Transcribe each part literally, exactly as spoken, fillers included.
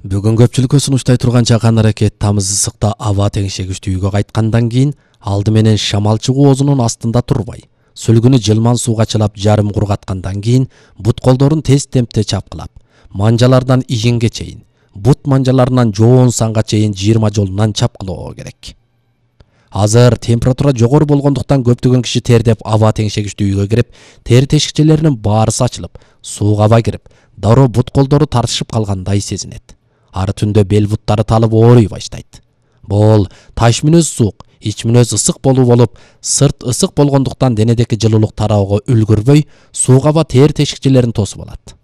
Бүгүн көпчүлүккө сунуштай турган чакан аракет тамыз ысыкта аба теңшегичти үйгө кайткандан кийин алды менен шамалчы коозунун астында турбай, сүлгүнү жылман сууга чылап жарым кургаткандан кийин бут колдорун тез темпте чапкылап, манжалардан ийинге чейин, бут манжаларынан жоон санга чейин жыйырма жолунан чапкылоо керек. Азыр температура жогору болгондуктан көптөгөн киши тердеп аба теңшегичти үйгө кирип, тери тешикчелеринин баарысы ачылып, сууг аба кирип, дароо бут колдору тартышып калгандай сезинет. Ары түндө бел буттары талып ооруй баштайт. Бул таш мүнөз суук, ич мүнөз ысык болуу болуп, сырт ысык болгондуктан денедеки жылуулук тараого үлгүрбөй, сууг аба тери тешикчелерин тосуп алат.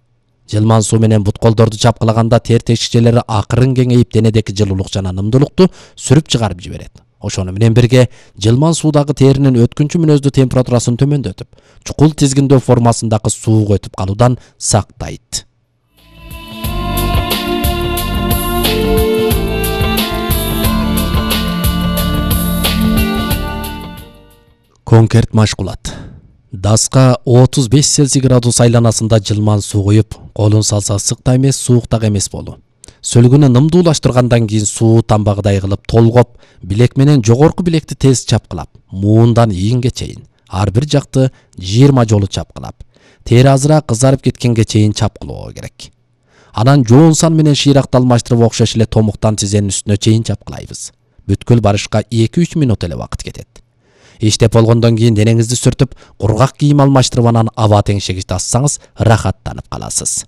Жылман суу менен бут колдорду чапкылаганда тери тешикчелери акырын кеңейип, денедеки жылуулук жана нымдуулукту сүрүп чыгарып жиберет. Ошону менен бирге жылман суудагы теринин өткүнчү мүнөздүү температурасын төмөндөтүп, чукул тизгиндөө формасындагы сууга өтүп калуудан сактайт. Конкерт машкулат. Даска отуз беш Цельсий градус айланасында жылман суу куюп, колун салса ысык да эмес, суук да эмес болуу. Сөлгүнү нымдуулаштыргандан кийин суу тамбагыдай кылып толгоп, билек менен жогорку билекти тез чапкылап, муундан ийинге чейин, ар бир жакты жыйырма жолу чапкылап, тери азыраак кызарып кеткенге чейин чапкылоо керек. Анан жоон сан менен шыйракты алмаштырып окшош эле томуктан тизенин үстүнө чейин чапкылайбыз. Бүткүл барышка эки үч мүнөт эле убакыт кетет. Иштеп болгондон кийин денеңизди сүртүп, кургак кийим алмаштырып анан аба теңшегичти ассаңыз рахаттанып каласыз.